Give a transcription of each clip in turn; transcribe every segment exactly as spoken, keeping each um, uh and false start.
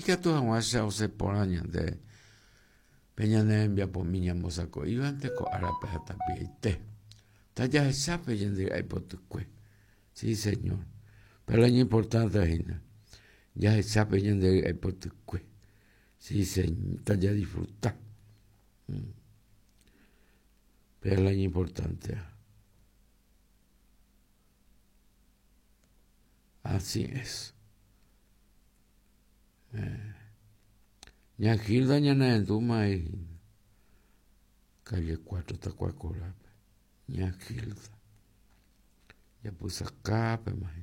Ikatu hag̃uáicha osẽ porã ñande pe ñane rembiapomi ñambosako'ívante ko árape ha tapiaite. Tajahechápe ñande ry'aipotykue. Sí, señor. Pero lo importante hína. Jahechápe ñande ry'aipotykue. Sí, señor. Tajadisfruta. Mm. Pero lo importante. Así es. Eh. Ña Gilda ñane ahí. Calle cuatro Tacuacorape. Ña Gilda. Ya puse acá, pe más.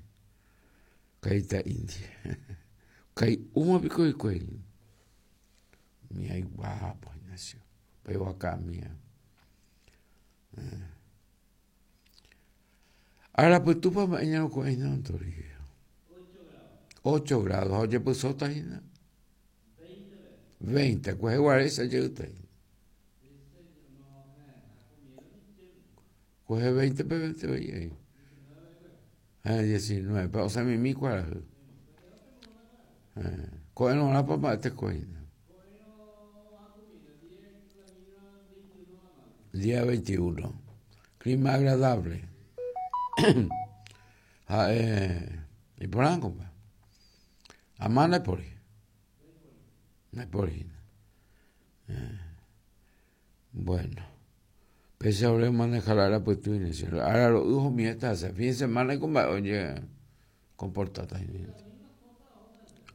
Caíta india. Caí uma pico y cuello. Mía y guapo, nació. Pero acá mía. Eh. Ahora pues tú para mañana con no ocho grados. Oye, pues sota hína. veinte. Pues igual esa llega ahí. Coge veinte, pe veinte ahí. Eh, diecinueve. Pero, o sea, mi mi cuál. Eh, coge no la papá este coge. Día veintiuno. Clima agradable. Ah, eh, y por ahí, compa. Amá no por ahí. No hay por ahí. Eh, bueno. Pese a manejar la pues tú ahora los hijos míos están fin de semana compa, oye, comportate.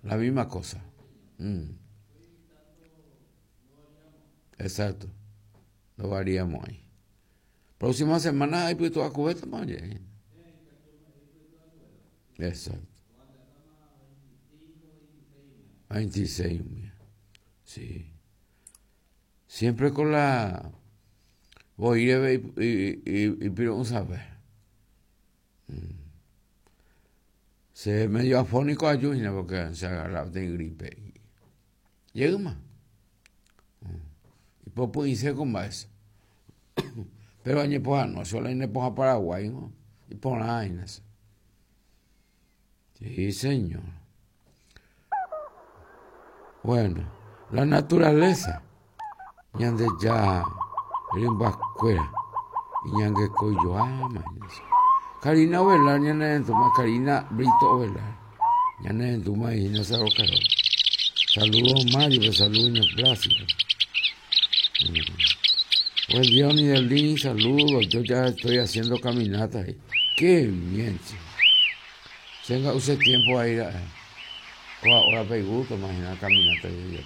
La misma cosa. Mm. Exacto. Lo variamos ahí. Próxima semana hay pues toda cubeta, oye. Exacto. veintiséis, sí. Siempre con la voy y y y, y pido un saber. Mm. Se medio afónico a Junior porque se agarraba de gripe. Llega más. Mm. Y poco hice con más. Pero añe poja no, solo añe poja Paraguay, ¿no? Y por ahí, no. Sí, señor. Bueno, la naturaleza. Ñande ya, rimbacuera. Y ñangue coyo ama. Karina Ovelar, ñane entuma, Karina Brito Ovelar. Ñane entuma y no se rocaró. Saludos Mario, saludos Plácido. Buen día, Unidelín, saludos. Yo ya estoy haciendo caminata ahí. Qué bien, chico. Tenga usted tiempo a ir a... Ahora pe gusto, imagina caminata y ya.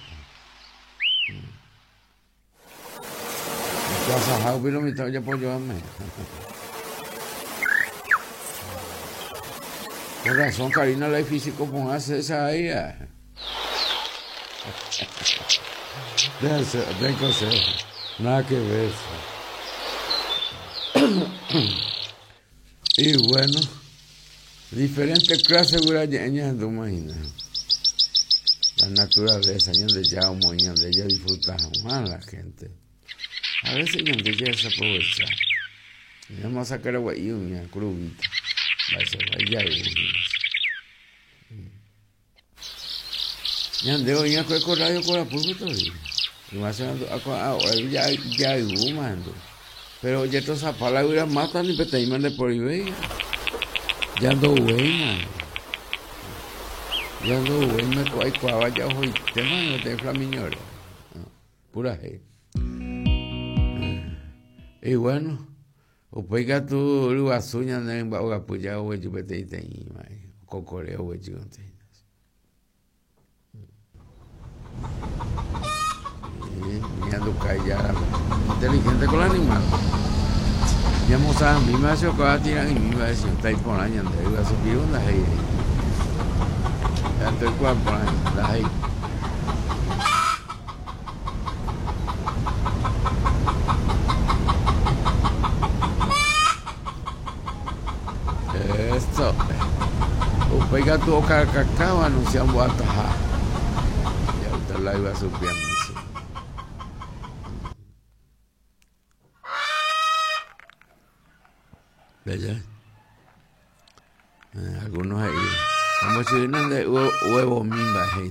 Casa pero mitad ya puedo llevarme. Con razón, Karina, la físico con hace esa ahí. Den consejo. Nada que ver. Y bueno, diferentes clases de imagina. La naturaleza, de ya de ella disfrutamos a la gente. A veces de ella desaprovecha. Vamos a sacar agua y una crudita. Va a ser ya hoy ya con radio con la pulpo todavía. Y más ya ya mando. Pero ya toda esa palabra mata ni peteima de por ahí. Ya ando güey, ya ando güey, me cuai cuava ya hoy tema no te flamiñora. Pura G. Y bueno, upéi tu ryguasu ñane mba'ogapy ya oguejy peteĩ teĩma kokore oguejy ñandukai ya inteligente con el animal. Ya mostraba mi macho cada tira y mi macho está ahí por año de iba a subir una ahí. Ya estoy cual por ahí, la ahí. Esto. Upéi tuvo cacao anunciando ataja. Ya usted la iba subiendo. ¿Verdad? Eh, algunos ahí. Vamos a decir, de huevo mimba, de